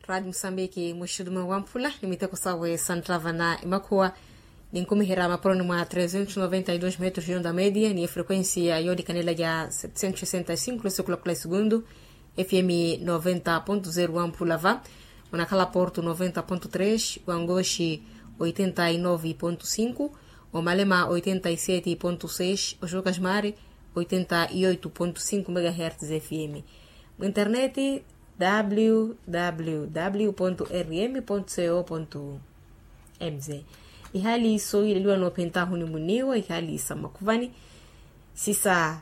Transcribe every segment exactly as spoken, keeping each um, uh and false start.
Radi musambiki muxutuma wamphula ni miteko sawe santtava na emakhuwa, ninkumiherya mapuroni mwa trezentos noventa y dos metros yonda media ni efrequencia yolikanela ya setecentos sessenta y cinco losekulo kula esugundu. Fm noventa ponto zero wamphula va munakhala porto noventa ponto tres, wangoxi oitenta y nove ponto cinco, omalema oitenta y sete ponto seis, oxuka ximari oitenta y oito ponto cinco megahertz fm. Mu internet, www rm co mz. Ihali soyileliwa noophentahu ni muniwa ihali sa makhuvani sisa.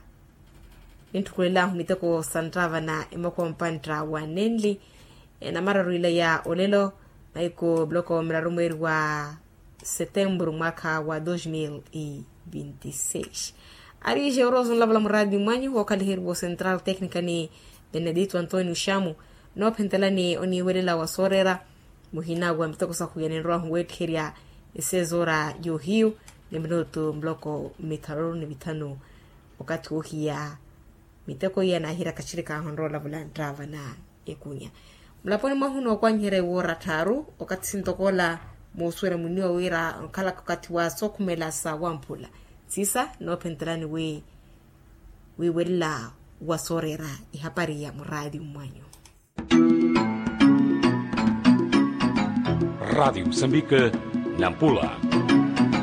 Nintthukhulelahu miteko santtava na emakhuwa mpantta wa nenli, namararu ila ya olelo, maiko muloko miraru mweeri wa setemburu mwaakha wa dos mil e vinte e seis. Ari jeoroso nlavula muraadi mwanyu wookhaliherya wo central technica ni benedito antonio xamu, noophentelani oniiwelela wa sooreera muhina wa miteko sahu ya ninrowahu weettiherya esezoora yoohiyu ni minutu muloko mithanu ni mithanu. Okathi woohiya miteko iya naahiraka tthirikaahu onrowa olavula nttaava na ekunya. Mulaponi mwahu nookwanyiherya iwoora tthaaru okathi sintokoola, moosuwela muniwa wira onkhalaka okathi wa sookhumela sa wamphula. Sisa noophentelani wi wiiwelela wa sooreera ihapari ya muraadi mmwanyu. Radi musambika, nampula.